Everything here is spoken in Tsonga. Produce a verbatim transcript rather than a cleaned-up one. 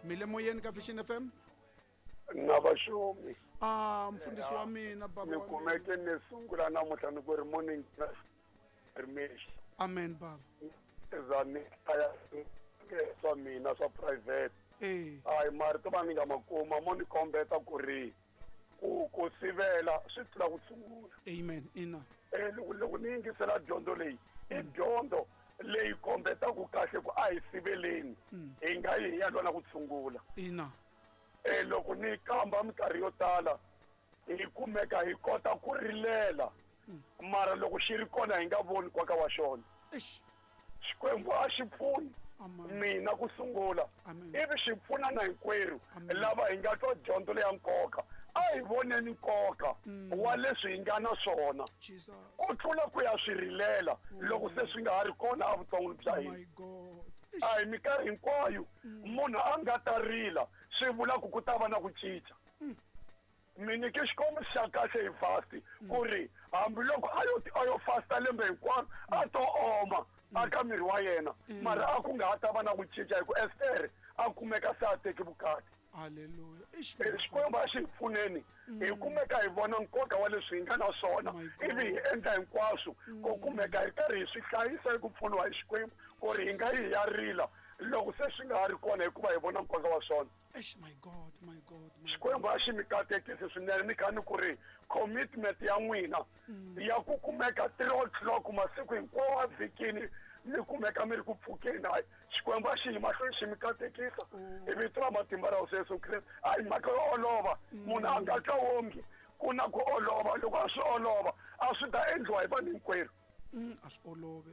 Mi le moyeni ka Vision F M? Na vaxumi. Ah, mfundhisi wa mina, baba Ni wa mina. kumeke ni sungula namuntlha ni ku ri morning rimexi. Amen, baba. Za ni hlaya swa mina swa private. Eh. Hayi, marito va ni nga ma kuma mo ni kombeta ku ri ku, ku sivela swi tlula ku tshungula. Amen, ina. Eh, loko, loko ni yingisela dyondzo leyi, i dyondzo leyi kombetaka kahle ku a hi siveleni. Mm. Hi nga yi hi ya lwa na ku tshungula. Ina. Eh, loko ni kamba minkarhi yo tala hi kumeka hi kota ku rilela. Mm. Mara loko xi ri kona hi nga voni nkoka wa xona. Eish. Xikwembu a xi pfuni Amen. mina ku sungula. Amen. Ivi xi pfuna na hinkwerhu Amen. lava hi nga twa dyondzo leya nkoka. A hi voneni nkoka Mm. wa leswi hi nga na swona. Jesus. Ku tlula ku ya swi rilela loko se swi nga ha ri kona evuton'wini bya hina. My God. A hi minkarhi hinkwayo Mm. munhu a nga ta rila swi vula ku ku ta va na ku cinca. Mm. Mi nyike xikombiso xa kahle hi fast Mm. ku ri hambiloko a yo a yo fasta lembe hinkwaro a to oma Mm. aka miri wa yena, Mm. mara a ku nga ha ta va na ku cinca hi ku Ester a kumeka se a teki vukati. Hallelujah. Eish, Eh, Xikwembu a xi hi pfuneni hi Mm. kumeka hi vona nkoka wa leswi hi nga na swona, My God. ivi hi endla hinkwaswo ku Mm. kumeka hi karhi hi swi hlayisa hi ku pfuniwa hi Xikwembu ku ri hi nga yi hi ya rila loko se swi nga ha ri kona hikuva hi vona nkoka wa swona. Eish, my God, my God, my Xikwembu a xi mi katekisi swinene, ni kha ni ku ri commitment ya n'wina Mm. ya ku kumeka three o'clock masiku hinkwawo a vhikini mi kumeka mi ri ku pfukeni. Hayi, Xikwembu a xi yi mahlweni xi mi katekisa Oh. hi vito ra matimba ra Hosi Yesu Kreste. A hi mhaka yo olova, Mm. munhu a nga twa onge ku na ku olova. Loko a swi olova a swi ta endliwa hi vanhu hinkwerhu. Mm, a swi olove.